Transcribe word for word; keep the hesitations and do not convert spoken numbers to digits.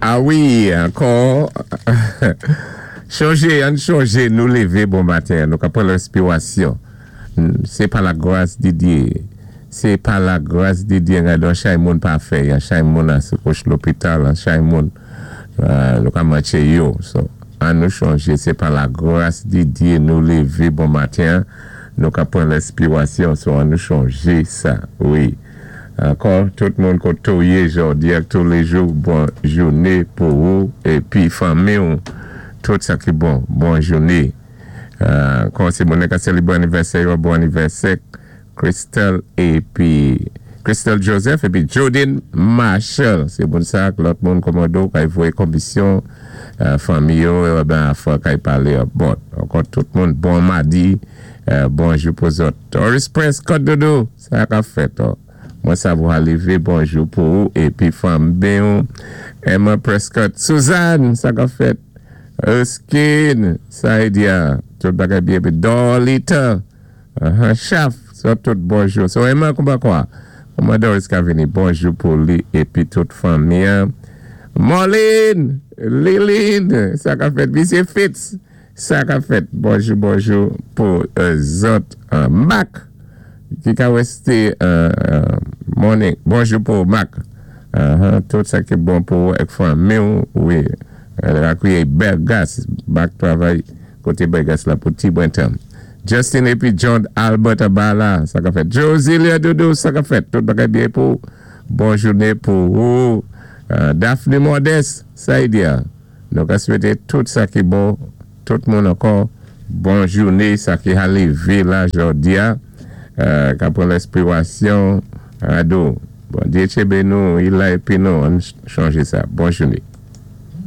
A wi, ankò, chonjé, ann chonjé, nou lévé bon maten, nou ka pran lenspiwasyon. Sé pa la gwas di Dye. Sé pa la gwas di Dye, gadon chay moun pa fè, yon chay moun an sou kouch lopital, an chay moun, nou ka manché yo. So, an nou chonjé, sé pa la gwas di Dye nou lévé bon maten, nou ka pran lenspiwasyon, so an nou chonjé sa, wi. Ankò, tout moun koté ou yé jòdi ak touléjou, bon jouné pou ou, épi fanmi ou, tout sa ki bon, bon jouné. Ankò, sé moun ka sélébwé anivèsè, bon anivèsè, Christelle épi Christelle Joseph épi Jodine Marshall. Sé bon sa, lòt moun kòmando, kay voyé konmisyon, fanmi yo, ben, afwa kay palé, bon, ankò tout moun, bon madi, bonjou pou zòt. Doris Prince, Côte Dodo, sa ka fèt, oh. Mwen sa vou alivé, bonjou pou ou, épi fanmi ou, Emma Prescott, Suzanne, sa ka fèt, Erskine, Saïdia, tout bagay byen, épi Dorlita, uh-huh, Chaf, so tout bonjou. So Emma, kouman kwa? Kouman Doris ka vini, bonjou pou li, épi tout fanmi. Marlene, Liline, sa ka fèt, Misye Fitz, sa ka fèt, bonjou, bonjou pou uh, zòt, uh, Mac, ki ka wésté uh, morning, bonjou pou Mac, uh-huh, tout sa ki bon pou ek fanmi ou, wi, rakouye bèl gas, bak travay koté bèl gas la pou ti bon tan. Justin épi John Albert Abala, sa ka fèt. Josilia Doudou, sa ka fèt. Tout bagay byen pou bon jouné pou ou. Uh, Daphne Modeste, Saïdia. Nou ka swété tout sa ki bon, tout moun ankò, bon jouné, sa ki a lévé la jòdi a, euh, ka pran lenspiwasyon, ado. Bondyé tchébé nou, i la épi nou, ann chonjé sa. Bon jouné.